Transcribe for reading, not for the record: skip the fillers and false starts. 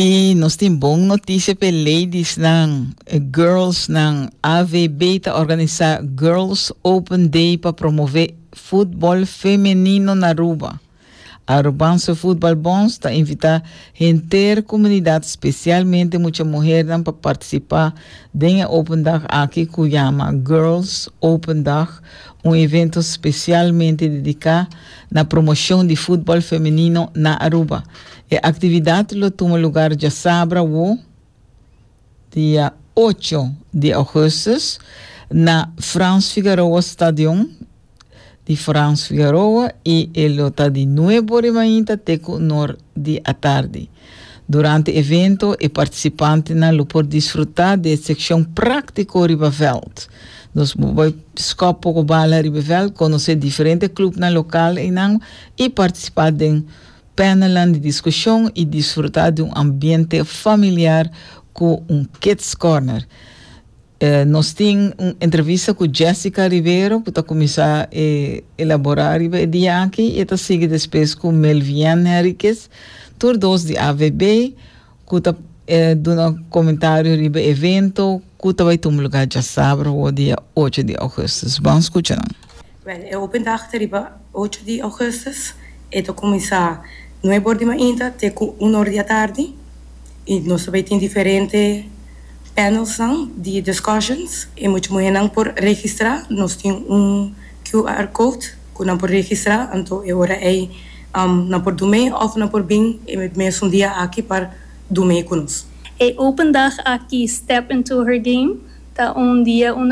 I nos tin bon notisia pa e ladiesnan, e girlsnan. AVB ta organisá Girls Open Day pa promové futbòl femenino na Aruba. Arubaanse Voetbalbond ta invitá henter komunidat, spesialmente mucha muhernan pa partisipá den e open dag aki ku yama Girls Open Dag, un evento spesialmente dediká na promoshon di futbòl femenino na Aruba. E aktividat lo tuma lugar djasabra awo, dia 8 di augustus, na Frans Figaroa Stadion di Frans Figaroa i e lo ta di 9 or di mainta te ku 1 or di atardi. Durante e evento e partisipantenan lo por disfrutá di e sekshon práktiko riba vèlt. Nos bo bai skòp poko bala riba e vèlt, konosé diferente klupnan lokal einan i partisipá den panelnan di diskushon i disfrutá di un ambiente familiar ku un kids corner. Nos tin un entrevista ku Jessica Rivero ku ta kuminsá elaborá riba e dia aki i e ta sigui despues ku Melvian Henriquez, tur dos di AVB, ku ta duna komentario riba e evento ku ta bai tuma lugá djasabra awor dia 8 di augustus. Ban skucha nan. Wèl, e open dag ta riba 8 di augustus. E ta kuminsá 9 or di mainta te ku 1 or di atardi i nos ta bai tin diferente panelsnan di discussions. E mucha muhénan por registrá. Nos tin un QR code ku nan por registrá, anto e ora ei nan por dum'é òf nan por bin e mesun dia aki pa dum'é ku nos. E open dag aki, Step Into Her Game, ta un dia unda